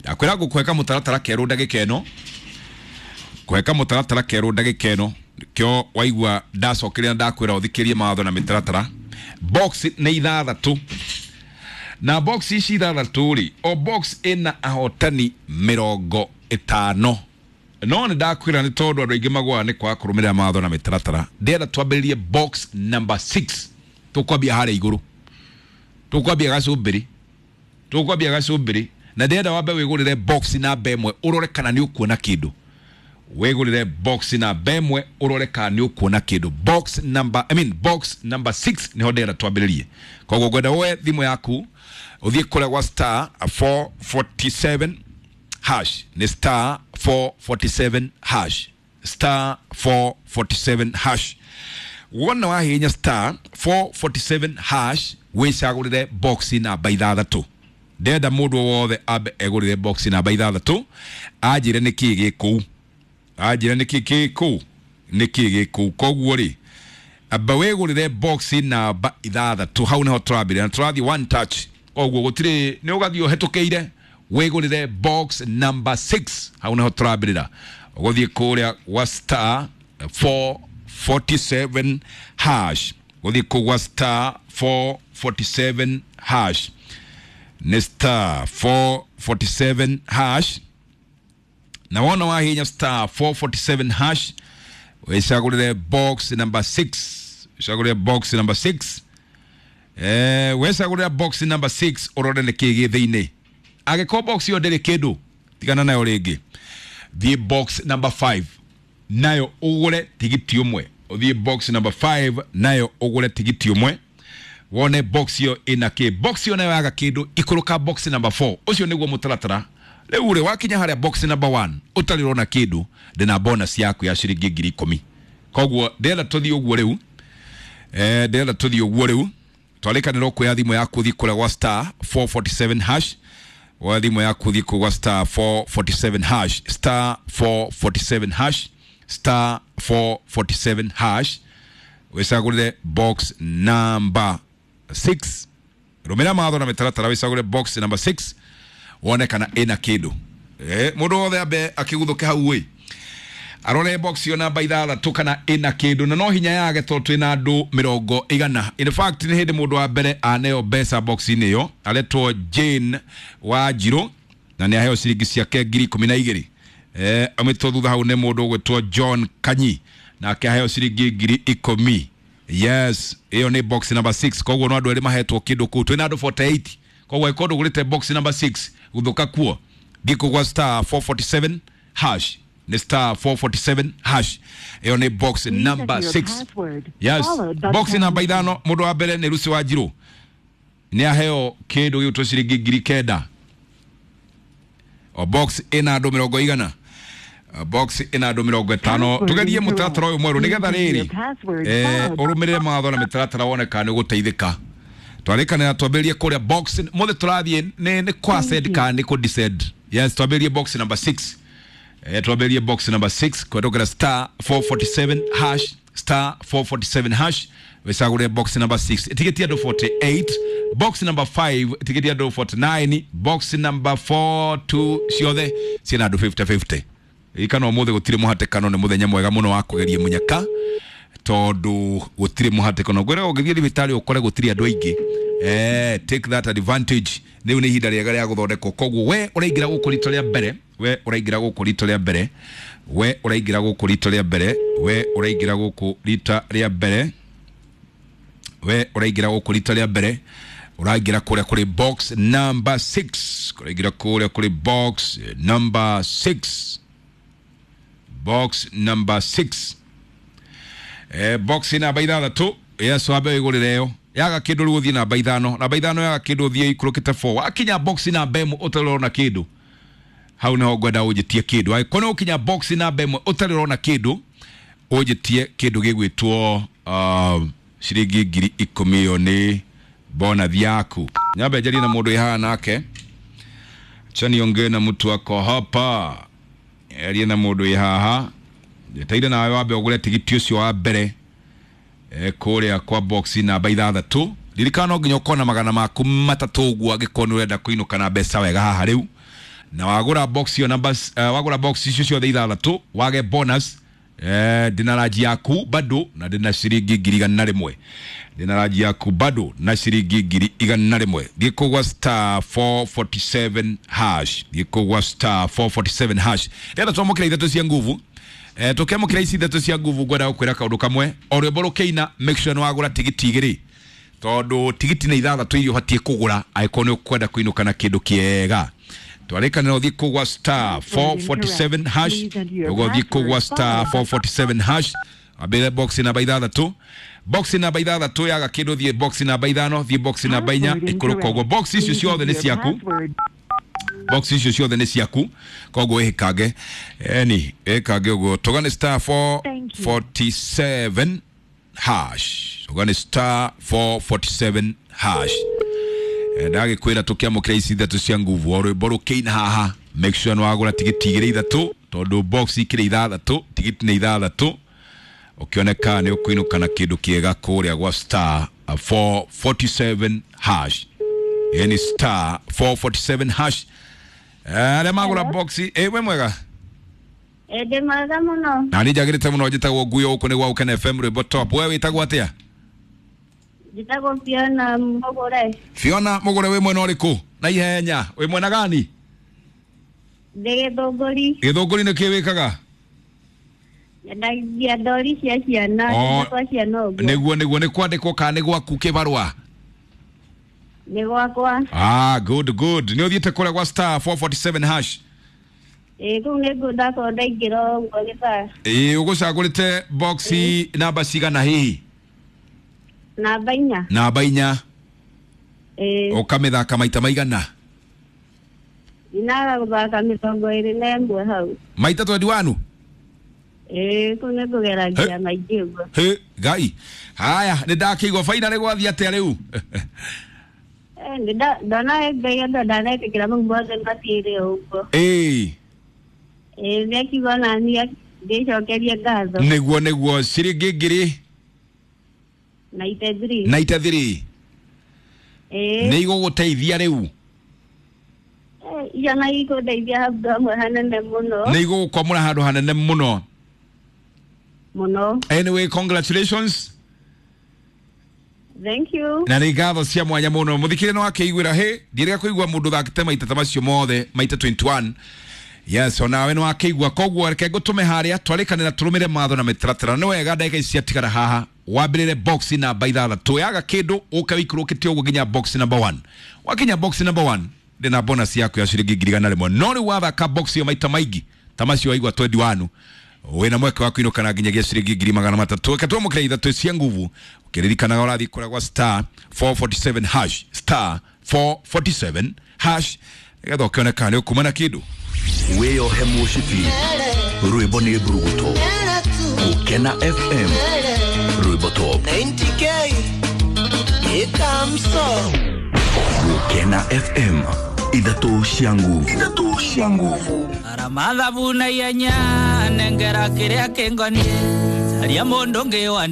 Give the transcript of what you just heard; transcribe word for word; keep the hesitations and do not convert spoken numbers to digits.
Ndakwĩra ngũkũhe mũtaratara kerũ ndagĩka ĩno, kũhe kamũtaratara kerũ ndagĩka ĩno kĩo waigua ndacokeria na ndakwĩra ũthikĩrie mawatho na mĩtaratara. Box nĩ ithathatũ, na box ici ithathatũ rĩ, o box ĩna ahotani mĩrongo ĩtano. No nĩ ndakwĩra nĩ tondũ andũ aingĩ magũaga nĩ kwaga kũrũmĩrĩra mawatho na mĩtaratara, ndĩrenda twambĩrĩrie box number six. Tũkwambia harĩa igũrũ, tũkwambia gacũmbĩrĩ, tũkwambia gacũmbĩrĩ, na ndĩrenda wambe wĩgũrĩre box namba ĩmwe ũrore kana nĩ ũkuona kĩndũ. Wĩgũrĩre box namba ĩmwe ũrore kana nĩ ũkuona kĩndũ. Box number, I mean box number six nĩho ndĩrenda twambĩrĩrie. Koguo ngwenda woe thimũ yaku ũthiĩ kũrĩa gwa star four forty-seven hash, nĩ star four forty-seven hash, star four forty-seven hash. Wona wahihinya star four forty-seven hash wĩcagũrĩre box namba ithathatũ. Ndĩrenda mũndũ wothe ambe egũrĩre box namba ithathatũ, anjĩre nĩkĩĩ gĩ kũu, anjĩre nĩkĩĩ gĩ kũu, nĩkĩĩ gĩ kũu. Koguo rĩ, amba wĩgũrĩre box namba ithathatũ, hau nĩho tũrambĩrĩria na tũrathiĩ one touch. Koguo gũtirĩ, nĩ ũgathiĩ ũhetũkĩire, wĩgũrĩre box number six, hau nĩho tũrambĩrĩra. Ũgũthiĩ kũrĩa gwa star four forty-seven hash, gũthiĩ kũu gwa star four forty-seven hash, nĩ star four forty-seven hash. Na wona wahihinya star four forty-seven hash wĩcagũrĩre box number six, wĩcagũrĩre box number six. Eh, wĩcagũrĩre box number six ũrore nĩkĩĩ gĩ thĩinĩ. Angĩkorwo box ĩyo ndĩrĩ kĩndũ, tigana nayo rĩngĩ, thiĩ box number five nayo ũgũre tigiti ũmwe. Ũthiĩ box number five nayo ũgũre tigiti ũmwe, wone box ĩyo ĩna kĩ. Box ĩyo nayo yaga kĩndũ, ikũrũka box number four. Ũcio nĩguo mũtaratara. Rĩu rĩ, wakinya harĩa box number one ũtarĩ ũrona kĩndũ, ndĩna bonus yaku ya ciringi ngiri ikũmi. Koguo ndĩrenda tũthiĩ ũguo rĩu, eh, ndĩrenda tũthiĩ ũguo rĩu. Twarĩkanĩrwo kuoya thimũ yaku ũthiĩ kũrĩa gwa star four forty-seven hash, woya thimũ yaku ũthiĩ kũu gwa star four forty-seven hash, star four forty-seven hash, star four forty-seven hash, wĩcagũrĩre box number six. Rũmĩrĩra mawatho na mĩtaratara, wĩcagũre box number six wone kana ĩna kĩndũ. Eh, mũndũ wothe ambe akĩguthũke hau ĩ, arore box ĩyo namba ithathatũ kana ĩna kĩndũ, na no hinya yage tondũ twĩna andũ mĩrongo igana. In fact nĩ hĩndĩ mũndũ wa mbere aneo mbeca box-inĩ ĩyo, aretwo Jane Wanjirũ, na nĩ aheo ciringi ciake ngiri ikũmi na igĩrĩ. Eh, amĩtwo thutha hau nĩ mũndũ ũgwĩtwo John Kanyi, nake aheo ciringi ngiri ikũmi. Yes, ĩyo nĩ box number six. Koguo no andũ erĩ mahetwo kĩndũ kũu, twĩna andũ forty-eight. Koguo angĩkorwo ndũgũrĩte box number six, guthũka kuo, thiĩ kũu gwa star four forty-seven hash, nĩ star four forty-seven hash, ĩyo nĩ box Please number enter your six. password, Yes, followed by box the namba pound key. ithano, mũndũ wa mbere nĩ Lucy Wanjirũ, nĩ aheo kĩndũ gĩgwĩtwo ciringi ngiri kenda. O box ĩna andũ mĩrongo igana, box ĩna andũ mĩrongo ĩtano. Password Tũgerie incorrect. mũtaratara ũyũ mwerũ nĩgetha Please enter rĩrĩ, your password eh, followed ũrũmĩrĩre mawatho na mĩtaratara wone kana nĩ ũgũteithĩka. Twarĩkanĩra twambĩrĩrie kũrĩa box mothe tũrathiĩ nĩ nĩ kwa Thank ascend you. kana nĩ kũ descend. Yes, twambĩrĩrie box number six. Eh, twambĩrĩrie box number six kũhetũkĩra star four forty-seven hash, star four forty-seven hash, wĩcagũre box number six. Ĩtigĩtie andũ forty-eight, box number five ĩtigĩtie andũ forty-nine, box number four two ciothe ciĩna andũ fifty fifty. Ririkana ũmũthĩ gũtirĩ mũhatĩkano, nĩ mũthenya mwega mũno wa kũgeria mũnyaka, tondũ gũtirĩ mũhatĩkano. Ngwĩraga ũngĩthiĩ thibitarĩ ũkore gũtirĩ andũ aingĩ, eh, take that advantage. Rĩu nĩ ihinda rĩega rĩa gũthondekwo. Koguo we ũraingĩra gũkũ rita rĩa mbere, we ũraingĩra gũkũ rita rĩa mbere, we ũraingĩra gũkũ rita rĩa mbere, we ũraingĩra gũkũ rita rĩa mbere, we ũraingĩra gũkũ rita rĩa mbere, ũraingĩra kũrĩa kũrĩ box number six, ũraingĩra kũrĩa kũrĩ box number six, box number six. Eh, box namba ithathatũ, yes, wambe wĩgũrĩre ĩyo. Yaga kĩndũ rĩu ũthiĩ namba ithano, namba ithano yaga kĩndũ ũthiĩ ikũrũkĩte four. Wakinya box namba ĩmwe ũtarĩ ũrona kĩndũ, hau nĩho ngwenda ũnjĩtie kĩndũ. Angĩkorwo nĩ ũkinya box namba ĩmwe ũtarĩ ũrona kĩndũ, ũnjĩtie kĩndũ gĩgwĩtwo, uh, ciringi ngiri ikũmi. Ĩyo nĩ bonathi yaku. Nyambe njarie na mũndũ wĩ haha nake, acha niongee na mtu ako hapa, arie na mũndũ wĩ haha. Njeteire nawe wambe ũgũre tigiti ũcio wa mbere, eh, kũrĩa kwa box namba ithathatũ. Ririkana no nginya ũkorwo na magana maku matatũ ũguo angĩkorwo nĩ ũrenda kũinũka na mbeca wega haha rĩu. Na wagũra box ĩyo numbers, uh, wagũra box icio ciothe ithathatũ wage bonus, eh, ndĩna ranji yaku bado na ndĩna ciringi ngiri igana rĩmwe. Ndĩna ranji yaku bado na ciringi ngiri igana rĩmwe. Thiĩ kũgwa star four forty-seven hash. Thiĩ kũgwa star four forty-seven hash. Rĩrĩa twamũkĩra ithatũ cia nguvu, eh, tũkĩamũkĩra ici ithatũ cia nguvu, ngwenda gũkwĩra kaũndũ kamwe. O rwĩmbo rũkĩina, make sure nĩ wagũra tigiti igĩrĩ, tondũ tigiti nĩ ithathatũ iria ũbatiĩ kũgũra angĩkorwo nĩ ũkwenda kũinũka na kĩndũ kĩega. Twarĩkanĩra ũthiĩ kũgwa star four forty-seven hash, ũgũthiĩ kũgwa star four forty-seven hash, wambĩrĩre box namba ithathatũ. Box namba ithathatũ yaga kĩndũ, thiĩ box namba ithano, thiĩ box namba inya, ikũrũka ũguo. Box icio ciothe nĩ ciaku, box icio ciothe nĩ ciaku, koguo ĩhĩkange, eni ĩkange ũguo. Tũgane star four forty-seven hash, tũgane star four forty-seven hash. Ndagĩkwĩra tũkĩamũkĩra ici ithatũ cia nguvu, o rwĩmbo rũkĩina haha, make sure nĩ wagũra tigiti igĩrĩ ithatũ, tondũ box ikĩrĩ ithathatũ, tigiti nĩ ithathatũ. Ũkĩoneka nĩ ũkũinũka na kĩndũ kĩega kũrĩa gwa star four forty-seven hash. Yani star four forty-seven hash. Arĩa magũra box, ĩ we mwega? Ĩ ndĩ mwega mũno. Na niĩ njagĩrĩte mũno, njĩtagwo Nguyo, gũkũ nĩ gwa Gũkena F M, rwĩmbo top. We wĩtagwo atĩa? Njĩtagwo Fiona Mũgũre. Fiona Mũgũre, wĩ mwena ũrĩkũ? Na ihenya, wĩ mwena gani? Ndĩ Gĩthũngũri. Gĩthũngũri nĩ kĩ wĩkaga? Nyendagia ndori cia ciana, Oh, kwa ciana ũguo. Nĩguo, nĩguo, nĩ kwandĩkwo kana nĩ gwaku kĩbarũa? Nĩ gwakwa. Ah, good, good. Nĩ ũthiĩte kũrĩa gwa star four forty-seven hash? Ĩĩ, kũu nĩkuo ndakorwo ndaingĩra ũguo gĩthaa. Ĩĩ, ũgũcagũrĩte box namba cigana hihi? Namba inya. Namba inya. Ĩĩ. Ũkamĩthaka maita maigana? Ndinaga gũthaka mĩrongo ĩrĩ na ĩmwe hau. Maita twenty-one? Ĩĩ, kũu nĩ ngũgeragia maingĩ ũguo. Hĩ, Ngai. Haya, nĩ ndakĩigua baina nĩ gwathiĩ atĩa rĩu? Eh, nĩ ndona Ngai andũ ndanetĩkĩra mau mothe matiĩre ũguo. Ĩĩ. Ĩĩ, nĩ akiuga ona niĩ ndĩcokerie ngatho. Nĩguo, nĩguo, ciringi ngiri ninety-three. ninety-three. Ĩĩ. Nĩ igũgũteithia rĩu? Eh, icio na ikũndeithia handũ hamwe hanene mũno. Nĩ igũgũkwamũra handũ hanene mũno. Mũno. Anyway, congratulations. Thank you. Na nĩ ngatho cia mwanya mũno. Mũthikĩrĩria no akĩiguĩra hĩ, ndirega kũigua mũndũ ũthakĩte maita ta macio mothe, maita twenty-one. Yes, onawe nĩ wakĩigua. Koguo reke ngũtũme harĩa twarĩkanĩra tũrũmĩre matho na mĩtaratara. Nĩ wega ndagĩka ici ciatigara haha wambĩrĩre box namba ithathatũ. Yaga kĩndũ ũke wĩikũrũkĩte ũguo nginya box number one. Wakinya box number one, ndĩna bonus yaku ya ciringi ngiri igana rĩmwe. No rĩu wathaka box ĩyo maita maingĩ ta macio waigua twenty-one, wĩna mweke wa kũinũka na nginyagia ciringi ngiri magana matatũ. Reke twamũkĩre ithatũ cia nguvu, ũkĩririkanaga ũrathiĩ kũrĩa gwa star four forty-seven hash, star four forty-seven hash, nĩgetha ũkĩoneka nĩ ũkuma na kĩndũ. Wĩyohe mũcibi, rwĩmbo nĩ mburuguto. Gũkena F M, rwĩmbo top. ninety K, ikamso. Gũkena F M, ithatũ cia nguvu. Ithatũ cia nguvu. Aramathabu na ihenya, nengera kĩrĩa kĩngoniĩ. Caria mũndũ ũngĩ wa